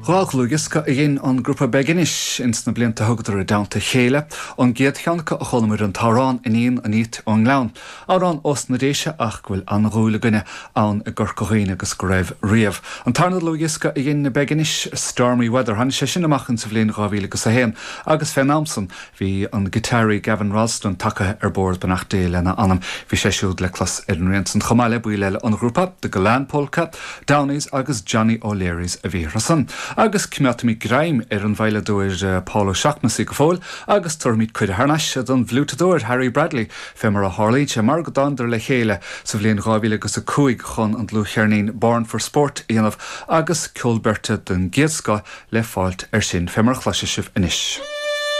Dhlúthdhiosca a dhein an grúpa Beginish ins na blianta a thugadar i dteannta a chéile. An gcéad cheann acu a chualamar an t-amhrán Iníon an Fhiait ón nGleann. Amhrán ós na Déise ach go bhfuil an-dhúil againne ann i gCorca Dhuibhne agus go raibh riamh. An tarna dlúthdhiosca a dhein na Beginish, Stormy Weather, tháinig sé sin amach insa bhliain 2001 agus fén am san Bhí an giotáraí Gavin Rossdon tagtha ar bord, beannacht Dé lena anam. Bhí sé siúd le clos ar an rian san chomh maith le baill eile an ghrúpa, The Gillane Polka, Downies agus Johnny O'Leary's a bhí orthu-san. Agus coimeádfaimid greim ar an veidhleadóir Paul O'Shaughnessy go fóill agus tabharfaimid cuireadh thar n-ais don bhfliúiteadóir Harry Bradley fé mar a tharlaíonn sé mar go dtánadar le chéile sa bhliain 2005 chun an dlúthcheirnín Born for Sport a dhéanamh agus ceol beirte den gcéad scoth le fáilt air sin, fé mar a chloisfidh sibh anois.